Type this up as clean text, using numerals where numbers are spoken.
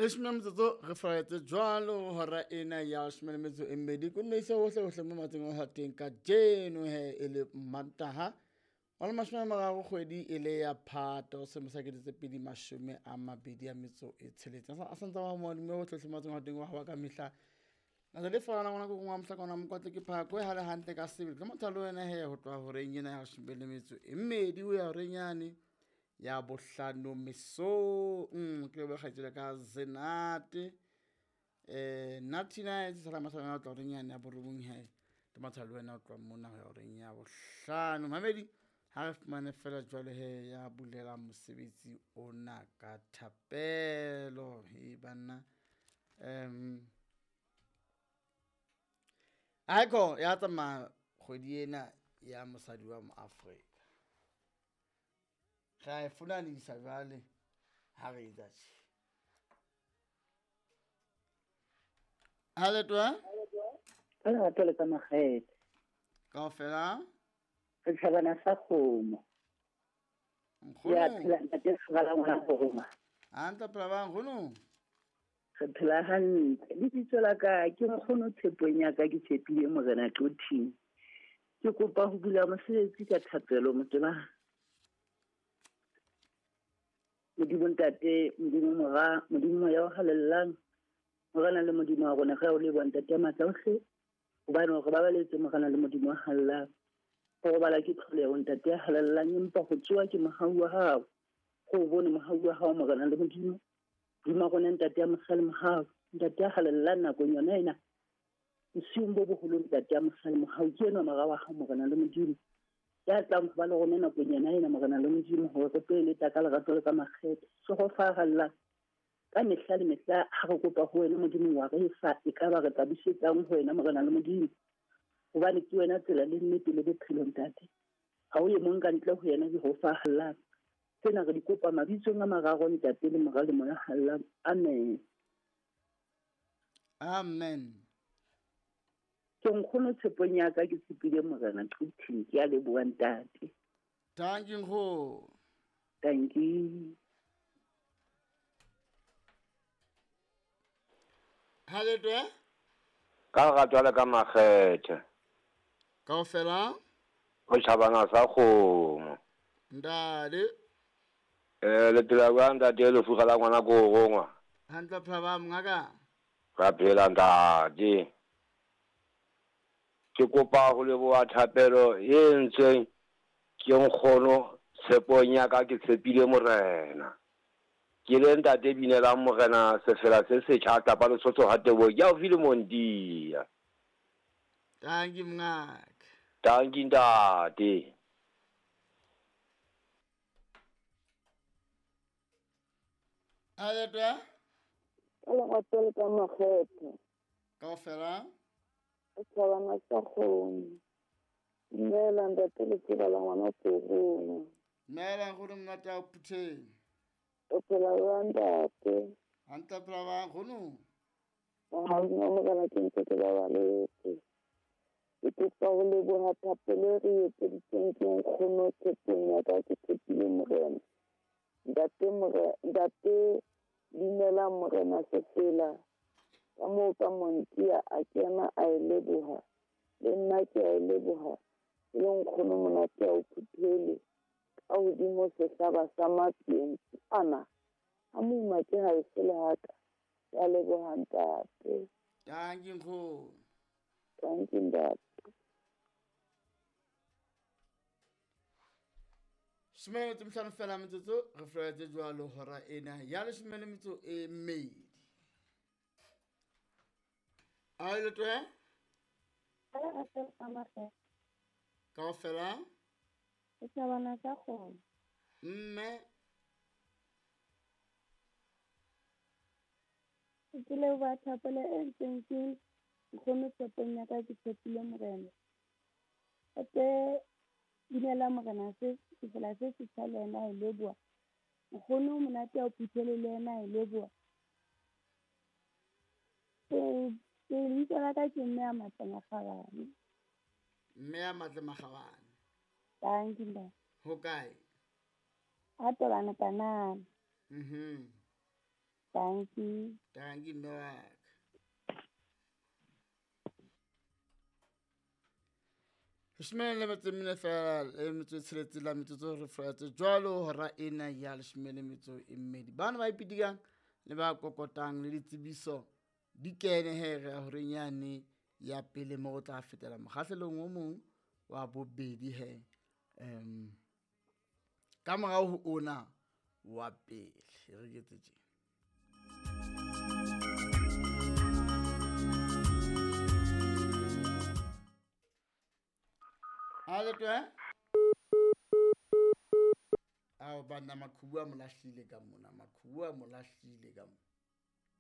Leshome metsotso re furaletse jwalo hora ena ya leshome le metso e mmedi ko nnoise hohle hohle mo matseng o hateng ka jeno he e le Mantaha wa le 30 kgwedi e le ya Phato selemo sa 2026. A santse wa moadime hohle hohle matseng o hateng wa hawa ka mehla. Natsa le fana ngwana ko ngwa mohlakana mokwatle ke phako e hale hantle ka sebele. Ke motho le wena he ho tloha horeng ena ya leshome le metso e mmedi ho ya horeng yane ya bohlano mesong. Ke leboha kgaitsedi ka Zenate Nathina e tsela masana tla horeng yane ya borobong he. Ke motho le wena o tloha mona ho ya horeng ya bohlano. Mamedi ha re fumane fela jwale he ya bulela mosebetsi ona ka thapelo. He banna Aiko ya tsamaya kgwedi ena ya mosadi wa moAfrika. Re a e fumanisa jwale ha re etsa tje. Ha letwa? Ka lerato le ka makgethe. Kaofela? Re tjhabana sa kgomo. Nkgono. Ya phela ntate Sgala ngwana roma. Hantle phela ba nkgono. Re phela hantle. Lebitso la ka ke nkgono tshepong ya ka ke tshepile Morena Qothing. Ke kopa ho bula mosebetsi ka thapelo motema. Modimo ntate, Modimo mora, Modimo moya o halellang. Morena le Modimo wa rona re o leboha ntate ya matla ohle. Hobane re babaletse Morena le Modimo wa halellang. Ho robala ke tlholeho ntate ya halellang empa ho tsoha ke mohau wa hao. Go bone mohau wa hao Morena le Modimo. Dima rona ntate ya mosali mohau, ntate ya halellang nakong yona ena. Bosiung bo boholo ntate ya mosali mohau ke enwa mora wa hao Morena le Modimo. Ya tlang ho ba le rona nakong yona ena Morena le Modimo hore re tlo eletsa ka lerato le ka makgethe. Hlohofahala ka mehla le mehla ha re kopa ho wena Modimo wa re fa e ka ba re tla busetsang ho wena Morena le Modimo. Hobane ke wena tsela le nnete le bophelo ntate. Ha o ye mong ka ntle ho yena Jehova hallang. Tsena re di kopa mabitsong a mararo ntate le mora le moya hallang. Amen. Amen. Ke nkgono tshepong ya ka ke tshepile Morena Qothing ke a leboha ntate. Thank you nkgono. Thank you. Ha letwe? Ka lerato le ka makgethe. Kaofela? Ho tjhabana sa kgomo. Ntate. Le phela jwang ntate lefu la ngwana ko rongwa? Hantle phela ba mongaka. Ra phela ntate. Ke kopa ho leboha thapelo e entsweng ke nkgono tshepong ya ka ke tshepile Morena. Ke le ntate binelang Morena sefela se setjha tlapa Lesotho ha tebo ke haufi le Mondia. Thank you mongaka. Thank you ntate. Aletwa? Ka lerato le ka makgethe. Kaofela? Tjhabana sa kgomo. Dumela ntate letseba la ngwana ko rona. Dumela nkgono monate a Phutheng. O phela jwang ntate? Hantle phela ba nkgono. Mohau wa Morena ke ntse ke babaletse. Ke kopa ho leboha thapelo e re etseditseng ke nkgono tshepong ya ka ke tshepile Morena. Ntate Morena, ntate dumela Morena sefela. Ka moo ka Montia a kena a e leboha. Le nna ke a e leboha. E le nkgono monate a o phuthele. Ka hodimo sehlaba sa matleng ana. Ha moima ke ha e sele haka. Ke a leboha ntate. Thank you nkgono. Thank you ntate. 15 fela metsotso re furaletse jwalo hora ena ya leshome le metso e mmedi. A letwe? Kaofela? Tjhabana sa kgomo. Mme ke leboha thapelo e entsweng ke nkgono tshepong ya ka ke tshepile Morena. Hape dumela Morena se sefela se setjha le yena a e leboha. Nkgono monate a o phuthele le yena a e leboha. Ke lebitso la ka ke Mme a Matle Makgabane. Mme a Matle Makgabane. Thank you ntate. Ho kae? Ha tobana kanana. Dankie. Dankie mme wa ka. Leshome le metso e mene feela le metso e tsheletseng la metsotso re furaletse jwalo hora ena ya leshome le metso e mmedi. Bana ba ipitikang le ba kokotang le ditsebiso di kene he re ya horeng yane ya pele mo re tla fetela mokgahlelong o mong wa bobedi he. Ka morao ho ona wa pele re ketse tjena. Ha le twe? Ao banna, maqhubu a mo lahlile ka mona, maqhubu a mo lahlile ka mona.